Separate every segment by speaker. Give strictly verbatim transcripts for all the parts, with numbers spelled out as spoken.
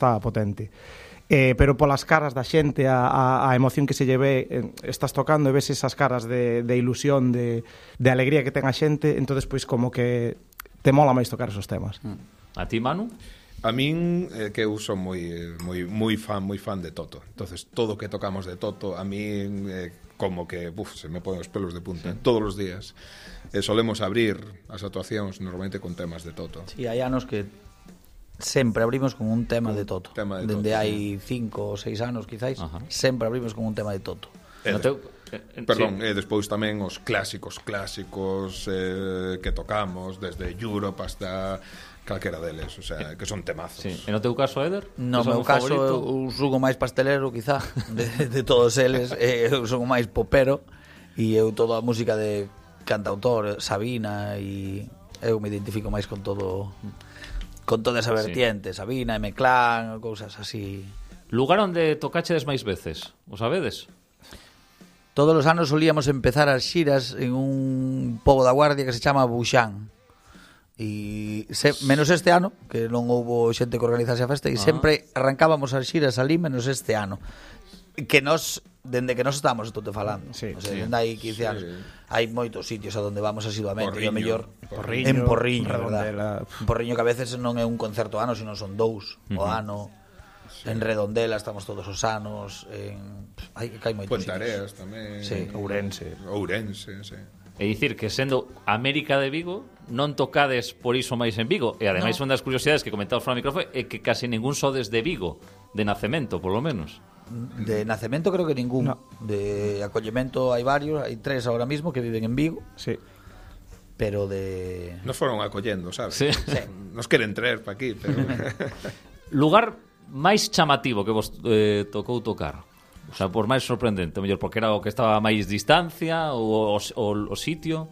Speaker 1: está potente. Eh, pero polas caras da xente, a, a, a emoción que se lle ve, eh, estás tocando e ves esas caras de, de ilusión, de, de alegría que ten a xente, entonces pois como que te mola máis tocar esos temas.
Speaker 2: A ti, Manu?
Speaker 3: A min, eh, que eu son moi, moi, moi fan, moi fan de Toto. Entonces, todo que tocamos de Toto, a min eh, como que, buf, se me ponen os pelos de punta, sí. Todos os días. Eh, solemos abrir as actuacións normalmente con temas de Toto.
Speaker 4: Sí, hai anos que sempre abrimos con un tema de Toto.
Speaker 3: Tema de
Speaker 4: Dende
Speaker 3: Toto,
Speaker 4: hai cinco ou seis anos, quizáis, Ajá. sempre abrimos con un tema de Toto.
Speaker 3: Eh,
Speaker 2: no teu...
Speaker 3: eh, perdón, sí. E eh, despois tamén os clásicos clásicos eh, que tocamos, desde Europe hasta calquera deles, o sea, que son temazos.
Speaker 2: Sí. En o teu caso, Eder?
Speaker 4: No meu caso, eu sugo máis pastelero, quizá, de, de todos eles. Eu sugo máis popero, e eu toda a música de cantautor, Sabina, e eu me identifico máis con todo, con toda esa vertiente, sí. Sabina, M-Clan, cousas así.
Speaker 2: Lugar onde tocachedes máis veces, o sabedes?
Speaker 4: Todos os anos solíamos empezar as xiras en un pobo da Guardia que se chama Buxán. E se, menos este ano, que non houbo xente que organizase a festa, e ah. sempre arrancábamos as xiras ali menos este ano. Que nos, dende que nos estamos estou te falando,
Speaker 1: sí,
Speaker 4: o sea,
Speaker 1: sí.
Speaker 4: dende hai quince anos, sí. Hai moitos sitios a donde vamos asiduamente,
Speaker 3: Porriño,
Speaker 4: e o mellor
Speaker 1: Porriño,
Speaker 4: en Porriño,
Speaker 1: Redondela.
Speaker 4: En Porriño, que a veces non é un concerto ano, sino son dous uh-huh. o ano. Sí. En Redondela estamos todos os anos, en hai que hai moitos
Speaker 3: sitios. Pontareas tamén.
Speaker 4: Sí,
Speaker 1: Ourense.
Speaker 3: Ourense, sí.
Speaker 2: É dicir que sendo América de Vigo non tocades por iso máis en Vigo, e ademais no. Unha das curiosidades que comentamos fora do micrófono é que casi ningún sodes de Vigo, de nacemento, polo menos.
Speaker 4: De nacemento creo que ningún. No. De acollemento hai varios, hai tres ahora mismo que viven en Vigo.
Speaker 1: Sí.
Speaker 4: Pero de...
Speaker 3: Nos foron acollendo, sabes?
Speaker 2: Sí.
Speaker 4: Sí.
Speaker 3: Nos queren traer pa aquí, pero...
Speaker 2: Lugar máis chamativo que vos eh, tocou tocar? O sea, por máis sorprendente, mellor porque era o que estaba a máis distancia ou o, o, o sitio.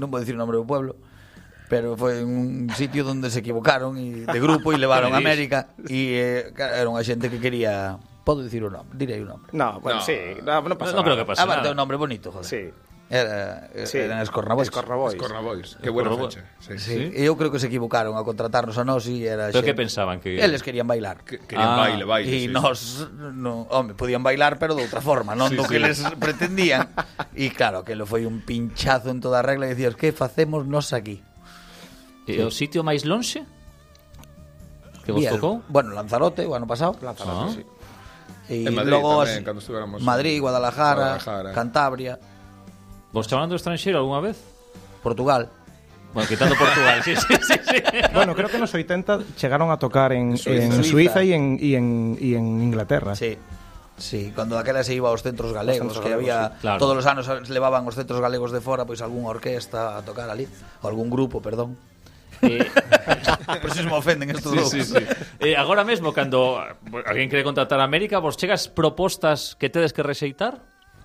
Speaker 4: Non vou dicir o nombre do pueblo, pero foi un sitio onde se equivocaron e de grupo e levaron a América, e eh, era unha xente que quería... Podo dicir o nome, direi o nome.
Speaker 1: No, bueno, no. sí, no, non pasa
Speaker 2: no, no
Speaker 1: nada.
Speaker 2: creo que pasa
Speaker 4: Aparte
Speaker 2: nada.
Speaker 4: un nombre bonito, joder.
Speaker 1: Sí.
Speaker 4: Era,
Speaker 1: sí.
Speaker 4: Eran Escornabois.
Speaker 1: Escornabois.
Speaker 3: Escornabois. Que buena
Speaker 2: Escornabois.
Speaker 3: fecha. Sí.
Speaker 4: Sí. Sí. E eu creo que se equivocaron a contratarnos a nós e era
Speaker 2: Pero
Speaker 4: xente.
Speaker 2: que pensaban que
Speaker 4: Eles querían bailar.
Speaker 3: Que, querían
Speaker 2: Ah,
Speaker 3: baile, baile.
Speaker 4: E
Speaker 3: sí,
Speaker 4: nós,
Speaker 3: sí.
Speaker 4: no, home, podían bailar, pero de outra forma, non
Speaker 3: Sí,
Speaker 4: do
Speaker 3: sí.
Speaker 4: que les pretendían. E claro, que lo foi un pinchazo en toda a regla e dicías, que facemos nós aquí?
Speaker 2: E o sitio máis lonxe que vos
Speaker 4: Bien.
Speaker 2: tocou?
Speaker 4: Bueno, Lanzarote, o ano pasado.
Speaker 1: Lanzarote,
Speaker 2: Ah.
Speaker 1: sí.
Speaker 4: E
Speaker 3: En Madrid
Speaker 4: logo
Speaker 3: tamén,
Speaker 4: as-
Speaker 3: cando estuéramos
Speaker 4: Madrid, Guadalajara,
Speaker 3: Guadalajara.
Speaker 4: Cantabria,
Speaker 2: Vos chamando estranxeiro algunha vez?
Speaker 4: Portugal.
Speaker 2: Bueno, quitando Portugal, sí, sí, sí, sí.
Speaker 1: Bueno, creo que nos oitenta chegaron a tocar en,
Speaker 3: Suiza.
Speaker 1: en Suiza y en, y en, y en Inglaterra.
Speaker 4: Sí. Sí, cando daquela se iba aos centros galegos,
Speaker 1: Os centros
Speaker 4: que
Speaker 1: galegos,
Speaker 4: había
Speaker 2: sí. Claro.
Speaker 4: todos os anos se levaban os centros galegos de fora, pois algunha orquesta a tocar ali, ou algún grupo, perdón.
Speaker 2: Eh,
Speaker 4: Por eso se me ofenden estos
Speaker 2: sí,
Speaker 4: dous.
Speaker 2: sí, sí. Eh, agora mesmo, cando alguén quere contratar a América, vos chegas propostas que tedes que rexeitar?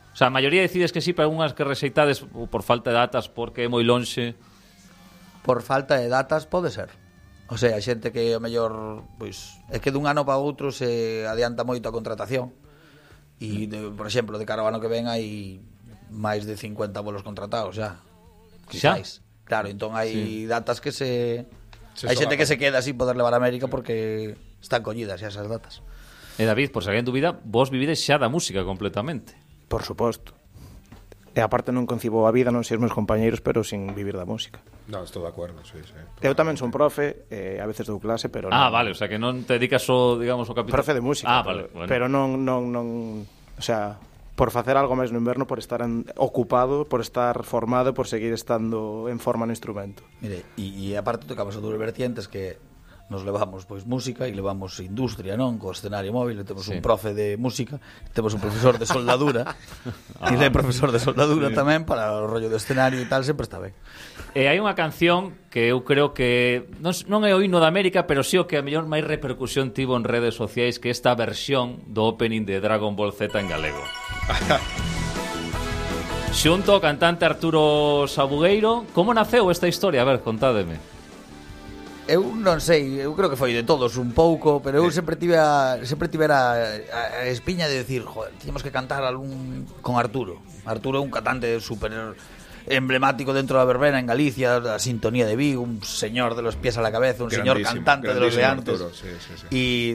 Speaker 2: O sea, a maioría decides que sí, pero algunhas que rexeitades por falta de datas, porque é moi lonxe.
Speaker 4: Por falta de datas pode ser. O sea, a xente que o mellor, pois, é que dun ano para outro se adianta moito a contratación. E, de, por exemplo, de cara ao ano que ven hai máis de cincuenta bolos contratados xa. Quizáis. Claro, entón hai sí. datas que se...
Speaker 3: Se
Speaker 4: hai xente
Speaker 3: solapan.
Speaker 4: que se queda sin poder levar a América porque están collidas xa esas datas.
Speaker 2: E David, por se alguén dubida, vos vivides xa da música completamente.
Speaker 1: Por suposto. E aparte non concibo a vida, non sei os meus compañeiros, pero sin vivir da música.
Speaker 3: No, estou de acordo, sí, sí.
Speaker 1: Eu tamén son profe, eh, a veces dou clase, pero
Speaker 2: Ah,
Speaker 1: non...
Speaker 2: vale, o sea que non te dedicas só, digamos, ao capítulo.
Speaker 1: Profe de música.
Speaker 2: Ah,
Speaker 1: pero,
Speaker 2: vale, bueno.
Speaker 1: pero non, non, non... O sea, por facer algo máis no inverno, por estar en, ocupado, por estar formado, por seguir estando en forma no instrumento.
Speaker 4: Mire, e, e aparte tocamos a dúas vertientes que nos levamos pois música e levamos industria, non? Co escenario móvil, temos sí. un profe de música, temos un profesor de soldadura ah. e de profesor de soldadura sí. tamén para o rollo do escenario e tal, sempre está ben.
Speaker 2: E hai unha canción que eu creo que non, non é o himno da América, pero sí o que a mellor máis repercusión tivo en redes sociais, que esta versión do opening de Dragon Ball Z en galego. Xunto ao cantante Arturo Sabugueiro, como naceu esta historia? A ver, contádeme.
Speaker 4: Eu non sei, eu creo que foi de todos un pouco, pero eu sempre tive a, sempre tivera a, a espiña de decir, joder, tínhamos que cantar algún con Arturo. Arturo é un cantante super emblemático dentro da verbena en Galicia, la sintonía de Vigo, un señor de los pies a la cabeza, un señor
Speaker 3: Grandísimo,
Speaker 4: cantante de los de
Speaker 3: grandísimo
Speaker 4: antes.
Speaker 3: Arturo, sí, sí, sí.
Speaker 4: Y